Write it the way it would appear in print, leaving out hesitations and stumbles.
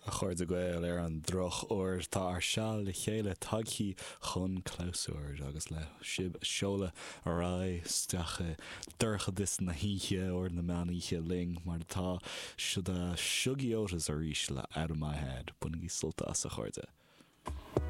A chairde Gael, ar an drochuair, tá ár seal le chéile tagthaí chun clabhsúir agus le sibh a sheoladh ar aghaidh isteach i dorchadas na hoíche, uair na meánoíche linn, mar atá, siod Shuggie Otis arís le Out of My Head. Bainigí sult as, a chairde.